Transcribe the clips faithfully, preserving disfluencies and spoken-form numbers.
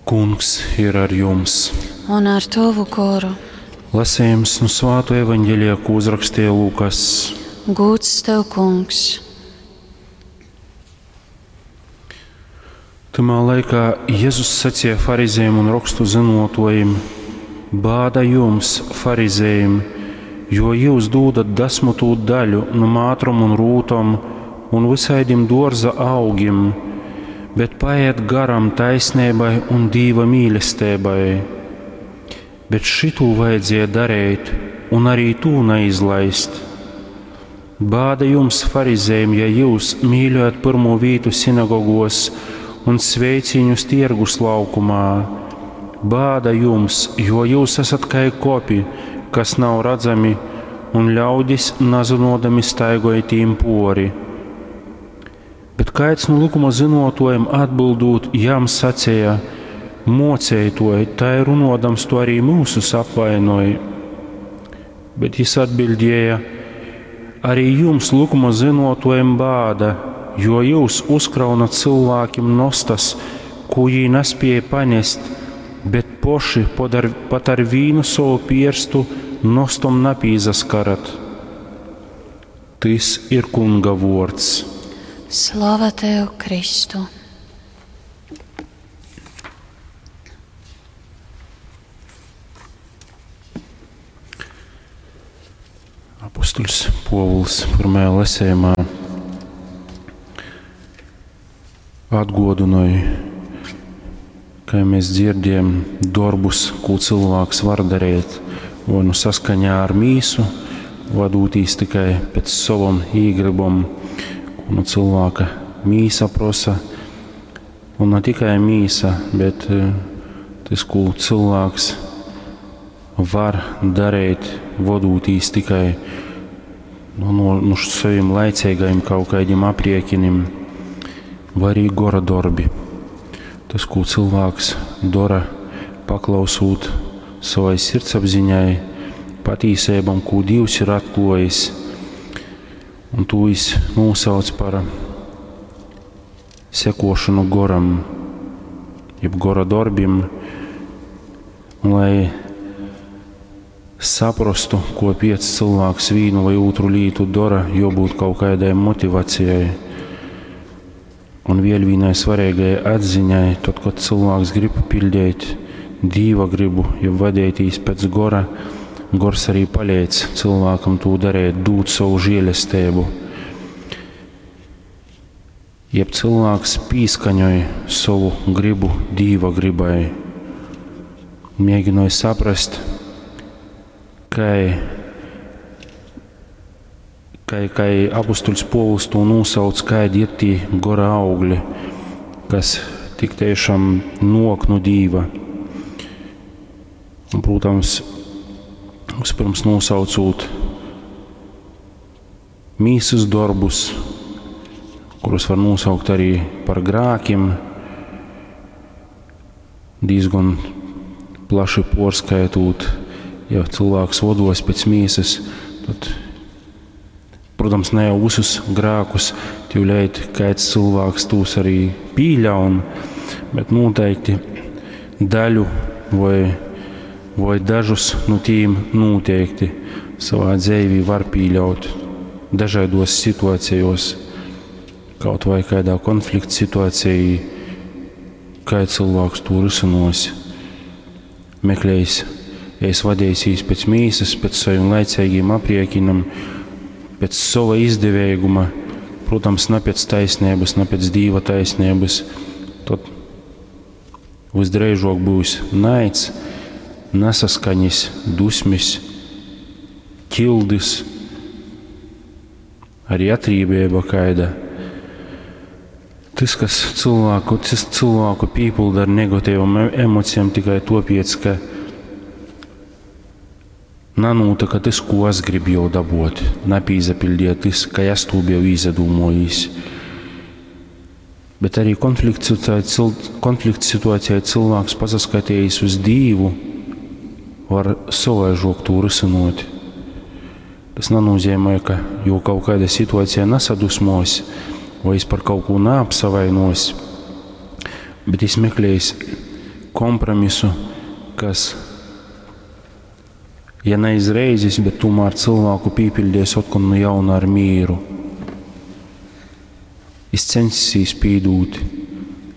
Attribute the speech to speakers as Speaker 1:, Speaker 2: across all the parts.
Speaker 1: Kungs ir ar jums!
Speaker 2: Un ar tovu goru.
Speaker 1: Lasījums nu Svāto evaņģelija, ko uzrakstīja Lūkas.
Speaker 2: Gūds tev, Kungs!
Speaker 1: Tamā laikā Jēzus sacīja farizējiem un rakstu zinotojiem: Bāda jums, farizējiem, jo jūs dūdat desmitū daļu no mātrom un rūtom un visaidim dārza augim, bet paiet garam taisnībai un dīva mīlestībai. Bet šitū vajadzēja darīt, un arī tū neizlaist. Bāda jums, farizējiem, ja jūs mīļojat pirmo vītu sinagogos un sveiciņus tirgus laukumā. Bāda jums, jo jūs esat kā kopi, kas nav redzami, un ļaudis nazinodami staigāja tīm pori. Bet kāds no likuma zinotojiem atbildot, jām sacīja: Mocētoji, tā ir runodams, to arī mūsus apvainoja. Bet jis atbildēja: Arī jums, likuma zinotojiem, bāda, jo jūs uzkraunat cilvēkiem nostas, ko jī nespēja panest, bet poši podar, pat ar vīnu savu pierstu nostom napīzaskarat. Tis ir Kunga vords.
Speaker 2: Slava tev, Kristu!
Speaker 1: Apustuļs Povuls pirmajā lasījumā atgodināja, kā mēs dzirdējam, darbus, ko cilvēks var darīt, vai nu saskaņā ar mīsu, vadūtīs tikai pēc savam īgribam, ko nu cilvēka mīsa prosa, un ne tikai mīsa, bet tas, ko cilvēks var darīt, vadūtīs tikai nu, no, no saviem laicīgajiem kaut kādiem aprēķiniem, vai arī gora darbi. Tas, ko cilvēks dara, paklausot savai sirdsapziņai, patīsībām, ko Dievs ir atklājis, un to viņš nosauc par sekošanu goram, jeb gora darbiem, un lai saprastu, ko piec cilvēks vīnu vai otru lītu dara, jābūt kaut kādai motivācijai. Un vēl vienai svarīgai atziņai, tad, kad cilvēks grib pildīt Dīva gribu, jeb vadīties pēc gora, gors arī palīdz cilvēkam to darīt, dūt savu žēlastību. Jeb cilvēks pīskaņoja savu gribu Dīva gribai, mēģināja saprast, kai, kai, kai apustuļs Povuls to nosauc, kādi ir tie gora augļi, kas tik tiešām nok no Dīva. Un, protams, vispirms nosaucot mīsas darbus, kurus var nosaukt arī par grākiem, diezgan plaši porskaitot, ja cilvēks vados pēc mīsas, tad, protams, ne jau visus grākus tīvleit kāds cilvēks tūs arī pīļaun, bet noteikti daļu vai, vai dažus no tīm noteikti savā dzīvī var pīļaut dažādos situācijos, kaut vai kādā konflikta situācijā, kā cilvēks to risinos, meklējis, ja es vadīsies pēc mīsas, pēc saviem laicīgiem aprēķinam, pēc sava izdevīguma, protams, ne pēc taisnības, ne pēc Dīva taisnības, tad visdrīzāk būs naids, nesaskaņas, dusmis, ķildis, arī atrībība kaida. Tas, kas cilvēku, tas cilvēku pīpilda ar negatīvām emocijām tikai topiec, ka nanūta, ka tas, ko es gribu jau dabūt, nepīzapildīja tas, ka es to biju izdomājis. Bet arī konflikta situācijā cilvēks pasaskatījis uz Dīvu, var savaižok to risinot. Tas nenozīmē, ka jo kaut kāda situācija nesadusmos, vai es par kaut ko neapsavainos, bet es meklējis, kompromisu, kas, ja ne izreizis, bet tomēr cilvēku pīpiļdies otkon nu jauna ar mīru. Jis censīs pīdūt,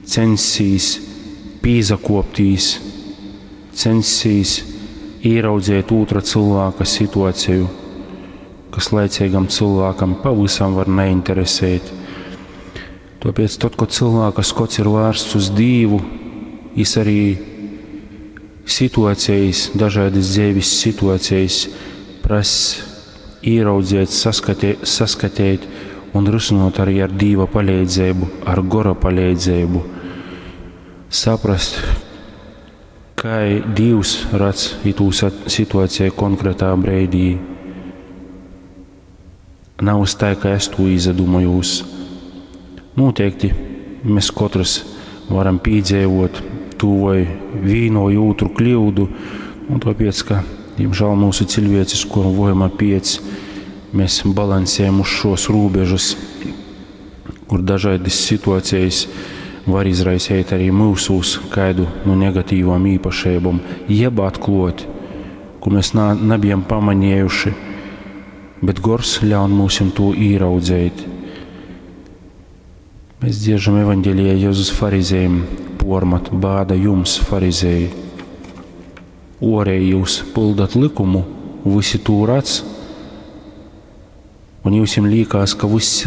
Speaker 1: censīs pīzakoptīs, censīs īraudzēt ūtra cilvēka situaciju, kas laicīgam cilvēkam pavisam var neinteresēt. Tāpēc tad, kad cilvēka skots ir vērsts uz Dīvu, jis arī situācijas, dažādas dzīves situācijas prasa ieraudzīt, saskatē, saskatīt un risinot arī ar Dīva palīdzību, ar gora palīdzību. Saprast, kā Dievs redz itū situāciju konkrētā breidī. Nav tā, ka es to izdomājos. Noteikti mēs katrs varam piedzīvot to vai vīnu vai otru kļūdu, un tāpēc, ka, diemžēl, mūsu cilvēcisko vojuma piec, mēs balansējam uz šos robežas, kur dažādas situācijas var izraisīt arī mūsos kādu no negatīvām īpašībām, jeb atklot, ko mēs nā, nebijam pamanījuši, bet gors ļaun mums to ieraudzīt. Mēs dziežam evaņģēlijā Jēzus farizējiem pormat, bāda jums, farizēji. Orēji jūs pildat likumu, visi tū redz, un jums līkās, ka viss ir